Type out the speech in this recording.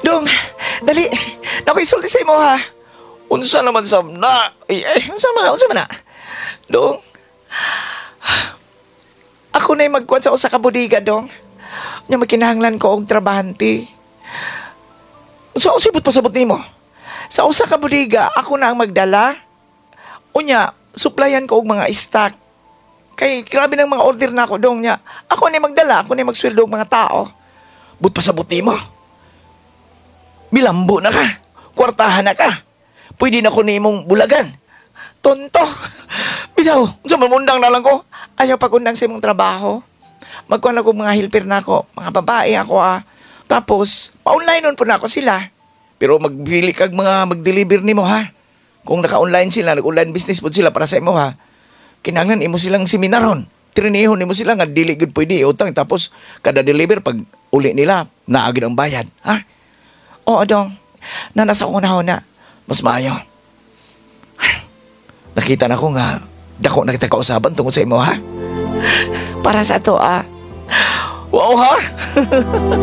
Dong, dali. Naku, isulti sa imo ha. Unsa naman sab na? Ay, ay, unsa man na? Dong, ako na'y magkuhan sa usa ka bodega, dong. Nya magkinahanglan ko og trabahante. Unsa usibot pasabot nimo? Sa usa ka bodega, ako na ang magdala. Unya, supplyan ko og mga stock. Kay grabe ng mga order na ako, dong, nya. Ako na magdala, ako na magsweldo og mga tao. But pasabot nimo. Bilambo na ka. Kwartahan na ka. Pwede na ko nimong bulagan. Tonto. Bitaw, unsa man, undang na lang ko. Ayaw pag-undang sa imong trabaho. Magkuhan ako mga helper na ako, mga babae ako ah. Tapos, pa-online nun po na ako sila. Pero magpili kag mga mag-deliver nimo ha. Kung naka-online sila, nag-online business po sila para sa imo ha. Kinahanglan imo silang seminaron. Trinihon nimo sila nga dili gud pwede utang, tapos kada deliver, pag uli nila, naa gid ang bayad, ha? Oo, dong. Nana sa akong na. Mas maayo. Nakita na ko nga dako na kita kausaban tungod sa imo ha. Para sa ato ah. Wow ha.